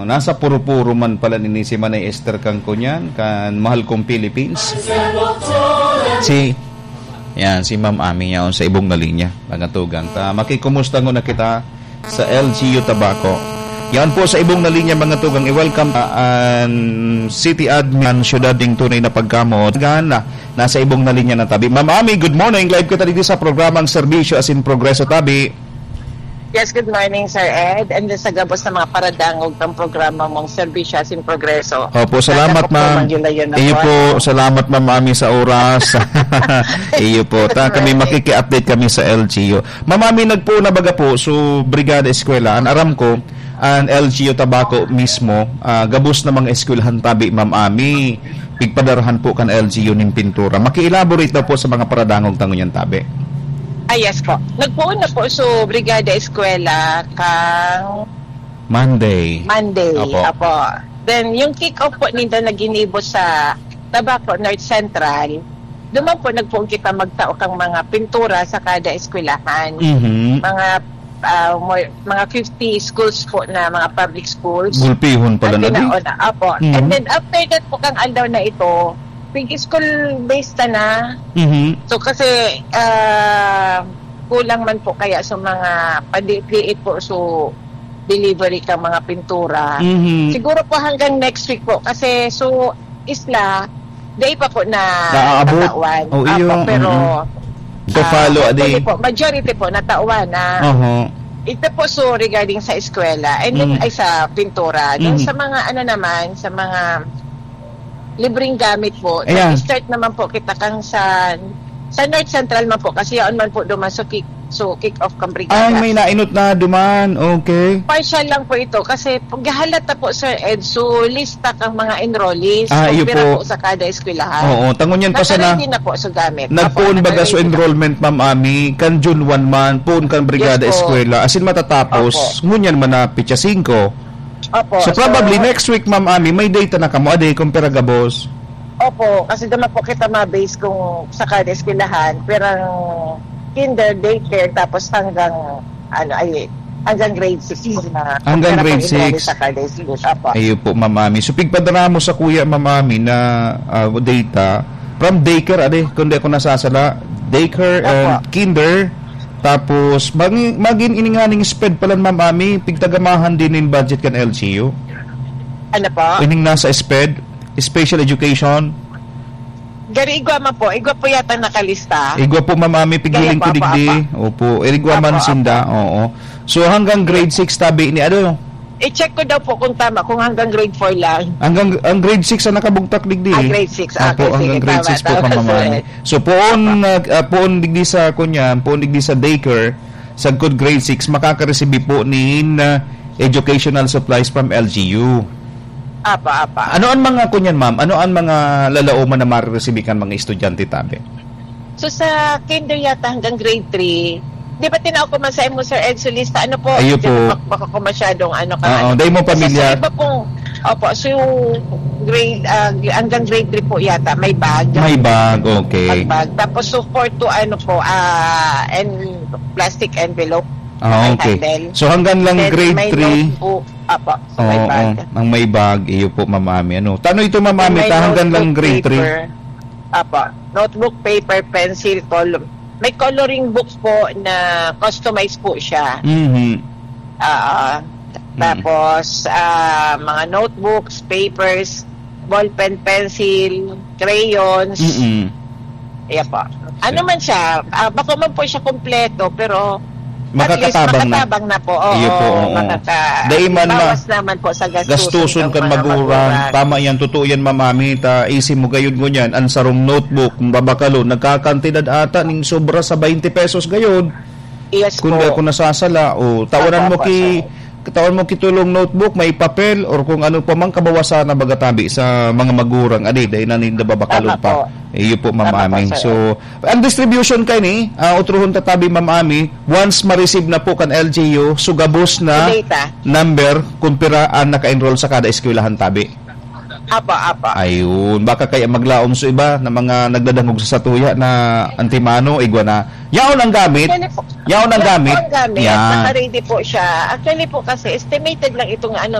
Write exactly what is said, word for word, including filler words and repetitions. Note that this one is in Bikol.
Nasa puro-puro man pala nini si Manay Esther kan kunyan, kan Mahal Kong Philippines. Si, yan, si Ma'am Ami yaon sa ibong na linya, mga tugang. Ta, makikumusta nguna kita sa L G U Tabaco. Yan po sa ibong na linya, mga tugang. I-welcome ta an city admin, syudad ning tunay na pagkamot. Gana, nasa ibong na linya na tabi. Ma'am Ami, good morning. Live kita dito sa programang Serbisyo asin Progreso Tabi. Yes, good morning, Sir Ed. And then sa gabos na mga paradangog ng programa mong Serbisyo asin Progreso. Opo, salamat, Sana po ma'am. Iyo po, salamat, Ma'am Ami, sa oras. Iyo po. Ta, kami, makikiupdate kami sa L G U. Ma'am Ami, nagpoon na baga po, so, Brigada Eskwela, an aram ko, an L G U Tabaco mismo, ah, gabos na mga eskwelahan tabi, Ma'am Ami, pigpadarahan po kan L G U nin pintura. Maki-elaborate daw po sa mga paradangog ta ngunyan tabi. Ah, yes po. Nagpoon na po, so, Brigada Eskwela kang Monday. Monday. Opo. Opo. Then, yung kick-off po ninda na ginibo sa Tabaco North Central, duman po nagpoon kita magtao kang mga pintura sa kada eskwelahan. Mhm. Mga, ah, more, mga fifty schools po na mga public schools. Gulpihon pala Ang na di. Ginauna, opo. Mhm. And then, after that po, kang aldaw na ito, pig-school based na na. Mhm. So, kasi, ah, kulang man po kaya sa mga padiit-diit po, so, delivery kang mga pintura. Mhm. Siguro po hanggang next week po. Kasi, so, isla, day pa po na Naaabot? Natawan. Oh, Apo, iyo, pero, mm. To ah, follow, hopefully adi. Po, majority po, natawan na. Oho. Ito po, so, regarding sa eskwela, and then, Mm. ay, sa pintura. Then, Mm. sa mga, ano naman, sa mga libreng gamit po, Ayan. Nag-start naman po kita kang sa, sa North Central man po, kasi yaon man po duman, so, kick, so, kick off kang brigada. Ay, may nainot na duman. Okay. Partial lang po ito, kasi pag halat na po, Sir Ed, so, lista kang mga enrollees, Ah, kung iyo pira po. Po sa kada eskwelahan. Oo, tangon yan pa sana. Naka-ready na po, so, gamit. Nagpoon Apo, baga, so, naka-ready na. Enrollment, Ma'am Ami, kan June one man, poon kan brigada Yes po. Eskwela. As in, matatapos, Opo. Ngunyan man na petsa singko. Opo, So, so probably next week, Ma'am Ami, may data na kamo, adi, kung pira gabos. Opo, kasi duman po kita ma-base kung sa kada eskwelahan, pirang kinder, daycare, tapos hanggang, ano, ay, hanggang grade six na Hanggang pira grade pang enrollees six. Sa kada school. Opo. Ayun po, Ma'am Ami. So, pigpadara mo sa kuya, Ma'am Ami, na, ah, data from daycare, adi, kung di ako nasasala, daycare and Opo. Kinder, tapos, magin, magin ininganing sped pala, Ma'am Ami, pigtagamahan din in budget kan L G U. Ano po? Ining nasa sped, special education. Gari igwa man po. Igwa po yata nakalista. Igwa po, Ma'am Ami, pigiling Kaya po, ko digdi. Apo, apo. Opo, igwa man Apo, sinda. Apo. Oo. So, hanggang grade six tabi ni ano? I-check ko daw po kung tama, kung hanggang grade four lang. Hanggang, ang grade six ang nakabugtak digdi. Ah, grade six. Ah, Apo, okay, sige, hanggang grade tama, six po tama, ka, Ma'am Ami. Sir. So, poon, Apo. Nag, ah, poon digdi sa, kunya, poon digdi sa daycare, sagkod grade six, makakaresibi po nin, ah, educational supplies from L G U. Apa, apa. Ano ang mga kunyan, ma'am? Ano ang mga lalaoman na mariresibi kan mga estudyante tabi? So, sa kinder yata hanggang grade three, di ba tinao ko man sa imo, Sir Ed, sa lista? Ano po? Ayo po. Baka, baka ko masyadong ano ka, Oo, ano. Dahil mo Kasi pamilyar. Sa iba pong, opo, so yung grade, ah, hanggang grade three po yata, may bag. May bag, okay. May bag. Tapos, so, four to, ano po, ah, and plastic envelope. Ah, okay. Handle. So, hanggang lang grade three. Then, may notebook. Apo, so may bag. Oo, ang may bag, iyo po, Ma'am Ami. Ano? Tano ito, Ma'am Ami, ta hanggang lang grade three? May notebook, paper. Apo, notebook, paper, pencil, color. May coloring book po na customized po siya. Mhm. Ah, Mm. tapos, ah, mga notebooks, papers, ballpen, pencil, crayons. Mm-mm. Ayan po. Ano man siya, ah, bako man po siya kompleto, pero at least Makakatabang na. Makatabang na po. Oo, Iyo po, oo. makaka-, Dai man ma-, bawas naman po sa gastusin gastuson ng kan mga magurang. Magurang. Tama yan, totoo yan, Ma'am Ami. Ta, isi mo gayud ngunyan, ang sarong notebook, kung babakalon, nagkakantidad ata ning sobra sa twenty pesos gayud. Yes Kung po. di ako nasasala, o, tawanan Tama mo po, ki-, sir. Katawan mo kitulong notebook, may papel, or kung ano pa mang kabawasan na baga tabi sa mga magurang, adi, dahil na ninda babakalon Tama pa. po. Iyo po, Ma'am Tama po, Ami. sir. So, ang distribution kay ni, ah, utrohon ta tabi, Ma'am Ami, once ma-receive na po kan L G U, so gabos na Sa data. number kung pira ang naka-enroll sa kada eskwelahan tabi. Apa, apa. Ayun. Baka kaya maglaom so iba na mga nagdadangog sa satuya na antimano, igwa na. Yaon ang gamit. Actually po, Yaon ang yaon gamit. po ang gamit. Yan. Naka-ready po siya. Actually po kasi, estimated lang itong ano,